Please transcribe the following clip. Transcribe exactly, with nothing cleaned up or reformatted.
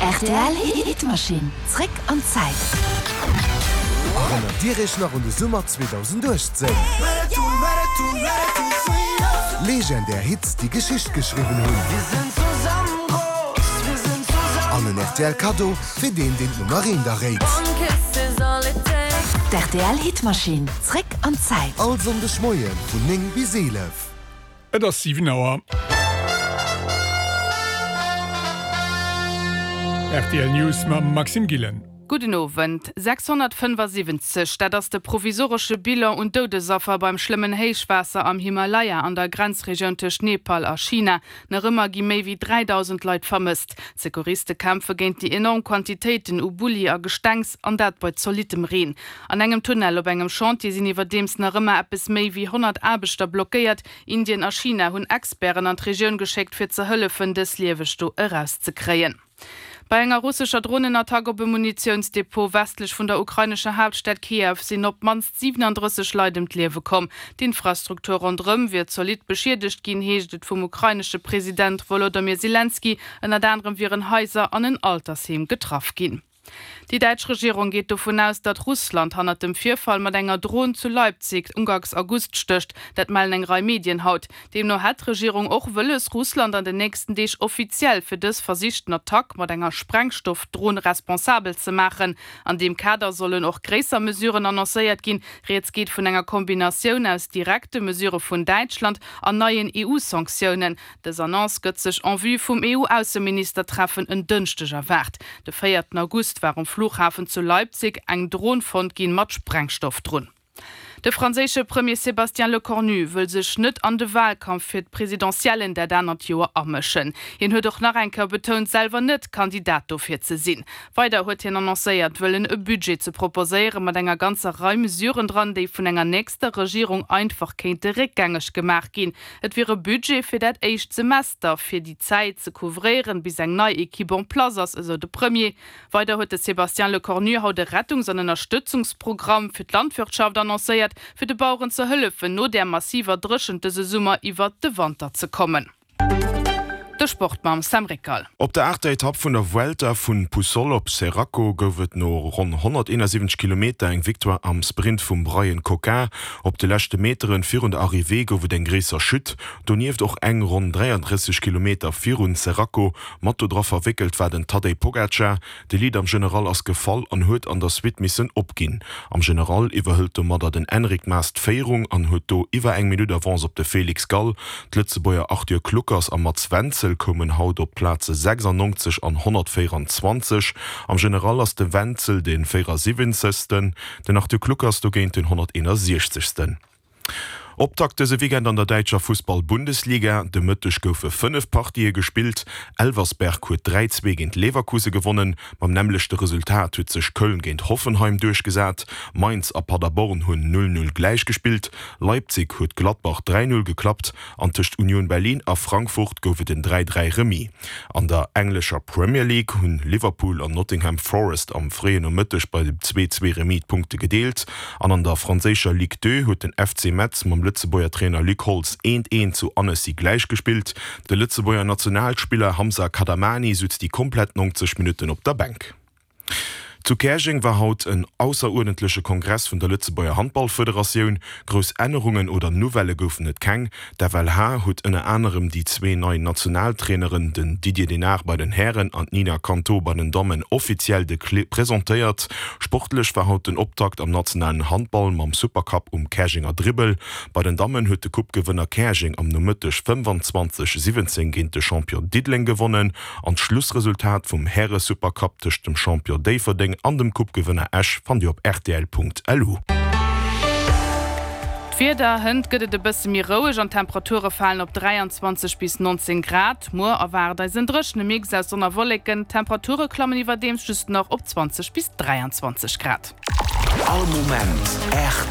Rtl Hitmaschinn, zréck an d'Zäit. Erënnert Dir Iech nach un de Summer zweedausenduechtzéng? Legendär Hits, déi Geschicht geschriwwen hunn. An en rtl Kaddo fir deen, deen d'Nummer eent erréit. D'R T L Hitmaschinn, zréck an d'Zäit. All Sonndeg Moie vun néng bis eelef. Et ass siwen Auer. Rtl News mam Maxime Gillen. Gudden Owend. sechshonnertfënnefasiwwenzeg, dat ass de provisoresche Bilan un Doudesaffer beim schlëmmen Héichwaasser am Himalaya an der Grenzregioun tëscht Nepal a China. Nach ëmmer gi méi wéi dräidausend Leit vermësst. D'Secouriste kämpfe géint déi enorm Quantitéiten u Bulli a Gestengs, an dat bei zolittem Reen. An engem Tunnel op engem Chantier sinn iwwerdeems nach ëmmer eppes méi wéi honnert Aarbechter blockéiert. Indien a China hunn Experten an d'Regioun geschéckt, fir ze hëllefen, dës lieweg do erauszekréien. Bei enger russescher Dronenattack op e Munitiounsdepot westlech vun der ukrainescher Haaptstad Kiew sinn op d'mannst siwenandrësseg Leit ëm d'Liewe komm. D'Infrastruktur ronderëm wier zolidd beschiedegt ginn, heescht et vum ukrainesche President Wolodomyr Selenskyj. Ënnert anerem wieren Haiser an en Altersheem getraff ginn. Déi däitsch Regierung geet dovun aus, datt Russland hannert dem Virfall mat enger Dron zu Leipzig uganks August stécht. Dat mellen eng Rei Medien haut. Deemno hätt d'Regierung och wëlles, Russland an den nächsten Deeg offiziell fir dës versichten Attack mat enger Sprengstoff-Dron responsabel ze maachen. An deem Kader sollen och gréisser Mesuren annoncéiert ginn. Rieds geet vun enger Kombinatioun aus direkte Mesurë vun Däitschland an neien E U-Sanktiounen. Dës Annonce gëtt sech en vue vum E U-Ausseministertreffen en Dënschdeg erwaart. De véierten August war um Flughafen zu Leipzig eng Dron fonnt ginn mat Sprengstoff drun. De franséische Premier Sébastien Lecornu wëll sech net an de Wahlkampf fir d'Presidentiellen dat anert Joer amëschen. Hien huet och nach eng Kéier betount, selwer net Kandidat dofir ze sinn. Weider huet hien annoncéiert, wëllen e Budget ze proposéiere mat enger ganzer Rei Mesuren dran, déi vun enger nächster Regierung einfach kéinte réckgängeg gemaach ginn. Et wier e Budget fir dat éischt Semester, fir déi Zäit ze couvréieren, bis eng nei Equipe en place ass, esou de Premier. Weider huet de Sébastien Lecornu haut e Rettungs an Ënnerstëtzungsprogramm fir d'Landwirtschaft annoncéiert, fir de Baueren ze hëllefen, no der massiver Dréchent dëse Summer iwwert de Wanter ze kommen. De Sport mam Sam Rickal. Op der aachter Etapp vun der Vuelta vun Puçol op Xeraco gouf et no ronn honnerteenasiwwenzeg Kilometer eng Victoire am Sprint vum Bryan Coquard. Op de leschte Meteren virun der Arrivée gouf et eng gréisser Chute, donieft och eng ronn dräiandrësseg Kilometer virun Xeraco. Mat do dra verwéckelt war den Tadej Pogacar. De Leader am General ass gefall an huet an der Suite missen opginn. Am General iwwerhëlt domadder den Enric Mas d'Féierung an huet do iwwer eng Minutt Avance op de Felix Gall. D'Lëtzebuerger Arthur Kluckers a Mats Wenzel koumen haut op d'Plaze sechsannonzeg an honnertvéieranzwanzeg. Am General ass de Wenzel de véierasiwwenzegsten, den Arthur Kluckers dogéint den honnerteenasiechzegsten. Optakt dëse Weekend an der däitscher Fussball-Bundesliga, De Mëtteg goufe fënnef Partië gespillt. Elversberg huet dräi, zwee géint Leverkusen gewonnen. Mam nämmlechte Resultat huet sech Köln géint Hoffenheim duerchgesat. Mainz a Paderborn hunn null, null gläichgespillt. Leipzig huet Gladbach dräi, null geklappt an tëscht Union Berlin a Frankfurt gouf et en dräi, dräi Remis. An der englescher Premier League hunn Liverpool an Nottingham Forest am fréien Nomëtteg bei dem zwee, zwee Remis d'Punkte gedeelt an an der franséischer Ligue deux huet den F C Metz mam Lëtzebuerger Trainer Luc Holtz eent, eent zu Annecy gläichgespillt. De Lëtzebuerger Nationalspiller Hamza Kadamani sutz déi komplett neunzeg Minutten op der Bänk. Zu Käerjeng war haut en ausseruerdentleche Kongress vun der Lëtzebuerger Handballfederatioun. Grouss Ännerungen oder Nouvellë goufen et keng. D'F L H huet ënner anerem déi zwee nei Nationaltraineren, den Didier Dinart bei den Hären an d'Nina Canto bei den Dammen, offiziell de Clé presentéiert. Sportlech war haut den Optakt am nationalen Handball mam Supercup um Käerjenger Dribbel. Bei den Dammen huet de Coupe-Gewënner Käerjeng am Nomëtteg fënnefanzwanzeg, siwwenzéng géint de Champion Diddeleng gewonnen an d'Schlussresultat vum Häre-Supercup tëscht dem Champion Déifferdeng an dem Coupe-Gewënner Esch fannt Dir op rtl Punkt L U. D'Wieder, Hënt gëtt et e bësse méi roueg an d'Temperature falen op dräianzwanzeg bis neunzéng Grad. Muer erwaart eis en dréchene Mix aus Sonn a Wolleken, d'Temperature klammen iwwerdeems just nach op zwanzeg bis dräianzwanzeg Grad. All Moment R T L.